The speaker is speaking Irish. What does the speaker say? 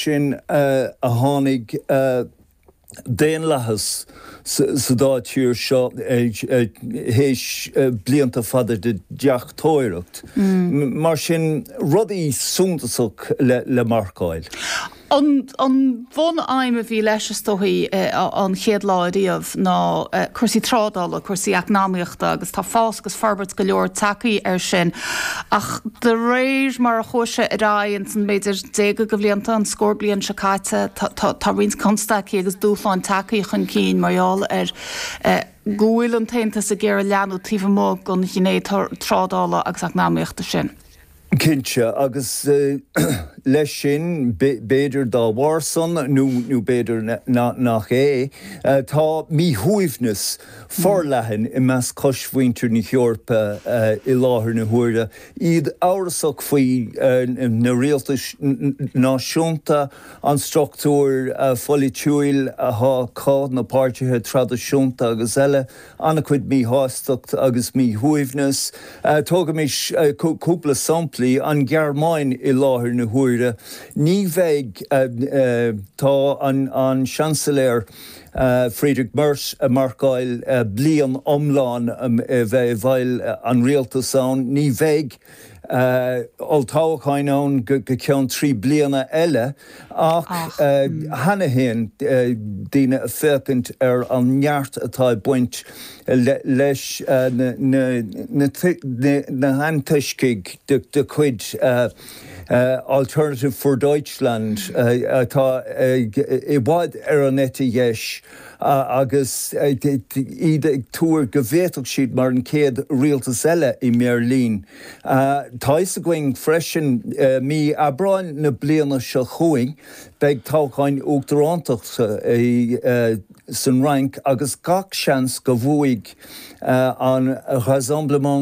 sin a tháinig daonlathas sa dá tír seo théis blianta fada de dheachtóireacht. Mar sin, rudaí suntasach le marcáil. An bhun-aidhm a bhí leis, is dóichí, an chéad lá ariamh ná cúrsaí trádála, cúrsaí eacnamaíochta agus tá fás agus forbairt go leor tagtha air sin ach de réir mar a chuaigh sé ar aghaidh ins an b'fhéidir déaga de bhlianta, an scór bliain seo caite, tá roinnt constaicí agus dúshláin tagtha chun cinn mar gheall ar go bhfuil an tAontas ag iarraidh leathnú taobh amuigh den ghné trádála agus eacnamaíochta sin. Cinnte, agus leis sin, b'fhéidir dá bharr san, nó b'fhéidir nach é, tá míshuaimhneas forleathan i measc choismhuintir na hEorpa i láthair na huaire, iad amhrasach faoi na rialtais náisiúnta, an struchtúr pholaitiúil atá acu, na páirtithe traidisiúnta agus eile. An-chuid míshástacht agus míshuaimhneas. Tógaimis cúpla samplaí. An Ghearmáin i láthair na huaire. Ní bheidh, tá an Seansailéir Friedrich Merz ag marcáil bliain iomlán a bheith i bhfeighil an rialtais ann. Ní bheidh olltoghcháin ann go ceann 3 bliana eile ach cheana féin daoine ag féachaint ar an neart atá ag baint leis na hantoiscigh de chuid Alternative für Deutschland atá i bhfad ar an eite dheis. agus iad ag tuar go bhféadfadh siad mar an chéad rialtas eile i mBeirlín. Tá fhios againn freisin, mí Aibreáin na bliana seo chugainn, beidh toghcháin uachtarántachta san Fhrainc agus gach seans go bhuafaidh an Rassemblement.